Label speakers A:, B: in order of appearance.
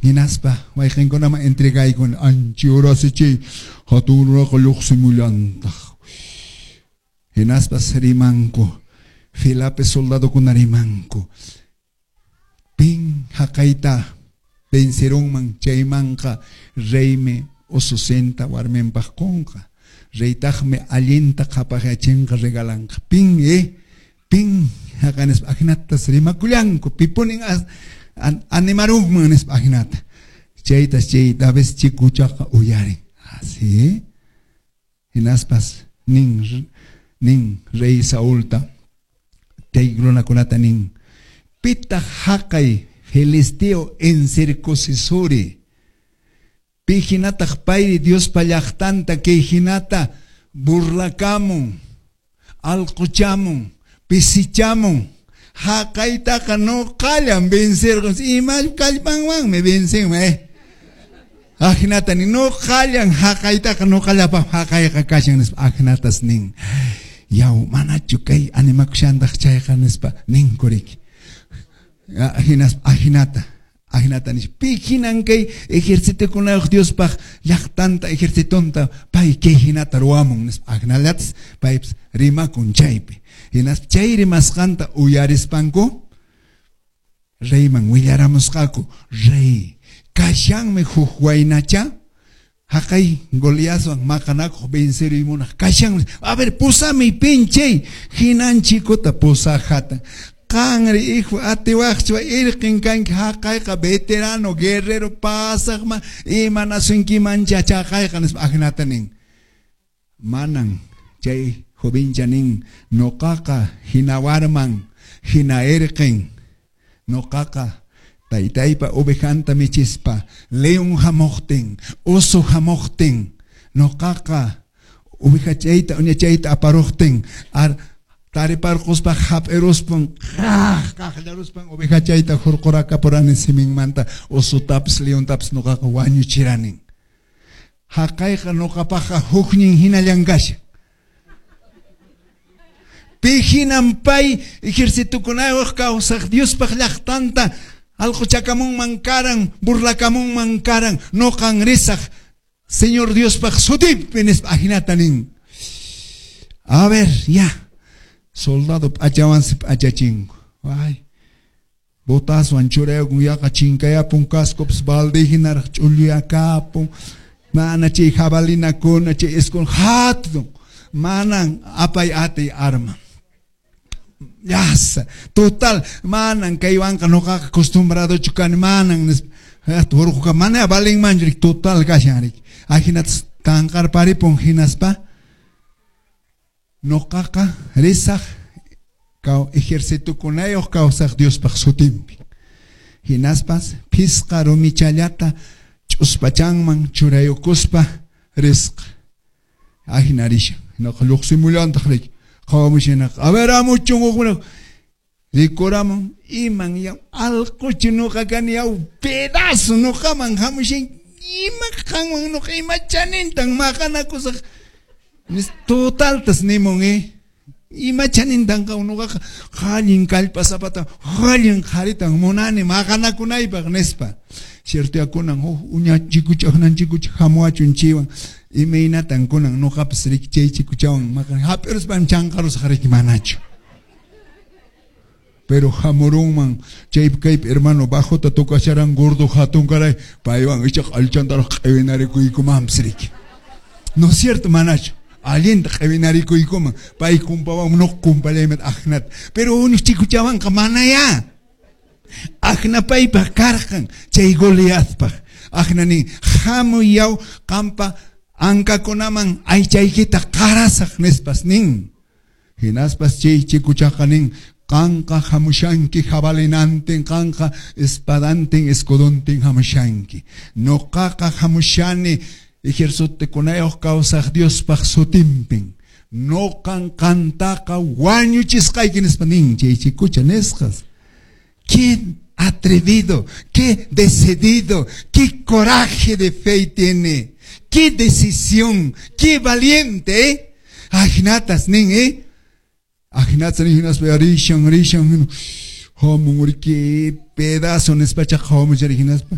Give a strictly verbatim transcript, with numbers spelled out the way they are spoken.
A: Hinaspa wayqinkunaman entregaykun anchi urasichiy hatun runaqa lluqsimullantaq. Hinaspas rimanku, filapi soldadokuna rimanku. Pin haqayta vencerunman chaymanqa reymi ususinta warminpaq qunqa. Reytaqmi allinta qhapaqyachinqa regalanqa. Pin eh pin haqanispa ajinatas rimakullanku pipunin as, an, animarunman nispa ajinata. Chaytas chay David chikuchaqa uyarin. Así. Hinaspas nin nin rey Saulta chay runakunata nin pitaq haqay filisteo incircuncisori pi hinataq payri Diospa llaqtanta kay hinata burlakamun alquchamun pisichamun haqaytaqa nuqallan vencerqun ima kallpanwanmi vencinman eh ajinata nin nuqallan haqaytaqa nuqallapaq haqayqa kashan nispa ajinatas nin yaw manachu kay animakushantaq chayqa nispa ninkuriki hinaspa ajinata ajinata nispa pi hinan kay ejercitokunayuq Diospaq llaqtanta ejercitonta pay kay hinata ruwamun nispa ajinallatas paypas rimakun chaypi hinaspa chay rimasqanta uyarispanku reyman willaramusqaku rey kashanmi huk waynacha haqay Goliatwan maqanakuq venceruy munaq kashanmi a ver pusami pinchay hinan chikuta pusajata qanri hijo atiwaqchu irqin kanki haqayqa veterano guerrero pasaqma imanasunkimancha chaqayqa nispa ajinata nin manan chay jovencha nin nuqaqa hina warman hina irqin nuqaqa taytaypa ovejanta michispa león hamuqtin oso hamuqtin nuqaqa ovejachayta uñachayta aparuqtin ar tariparquspa hap'iruspan qaq qaqllaruspan ovejachayta hurqurakapurani siminmanta osotapis leontapis nuqaqa wañuchiranin haqayqa nuqapaqqa huknin hinallan kashan pi hinan pay ejercitokunayuq kawsaq Diospaq llaqtanta alquchakamunman karan burlakamunman karan nuqan risaq Señor Diospaq sutinpi nispa ajinata nin a ver ya soldado p'achawansi p'achachinku ay botaswan churayukun yaqa chinkayapun cascopis balde hinaraq ch'ulluyakapun mana chay jabalinakuna chay escudo hatun manan apay atiy arma Yasa, total, manan kaywanqa nuqaqa acostumbradochu kani manan nispa urquqa mana valinmanchu total kashan riki ajinatas tanqarparipun hinaspa nuqaqa risaq ejercitokunayuq kawsaq Diospaq sutinpi hinaspas phisqa rumichallata ch'uspachanman churayukuspa risqa ajina rishan hinaqa lluqsimullantaq riki qhawamushinaqa a ver amuchun hukuna rikuramun iman yaw alquchu nuqa kani yaw pedazo nuqaman hamushan ima qanwan nuqa ima chanintan maqanakusaq totaltas nimun eh ima chanintan nuqaqa allin kallpasapata allin qharitan munani maqanakunaypaq nispa ciertoyakunan huk uña chikucha aknan chikucha hamuwachun chaywan imaynatan kunan nuqapas riki chay chikuchawan maqan hap'iruspan chanqarusaq riki manachu pero hamurunman chaypi kaypi hermano bajota tocasharan gordo hatun karay paywan ichaqa allchantaraq q'iwinarikuykumanpis riki no es cierto manachu allinta q'iwinarikuykuman pay kumpawan nuqa kumpallayman ajnata pero uñuq chikuchawanqa manayá ajna paypaq karqan chay Goliathpaq ajna nin hamuy yaw qampa ankakunaman aychaykita qarasaq nispas nin hinaspas chay chikuchaqa nin qanqa hamushanki jabalinantin qanqa espadantin escudontin hamushanki nuqaqa hamushani ejercitokunayuq kawsaq Diospaq sutinpin nuqan qantaqa wañuchisqayki nispa nin chay chikucha nisqas qué atrevido, qué decidido, qué coraje de fe tiene, qué decisión, qué valiente, ¿eh? Ajinatas nin, ¿eh? Ajinatas nin, hinaspa rishan, rishan, hamun, qué pedazo nispacha hamun, hinaspa.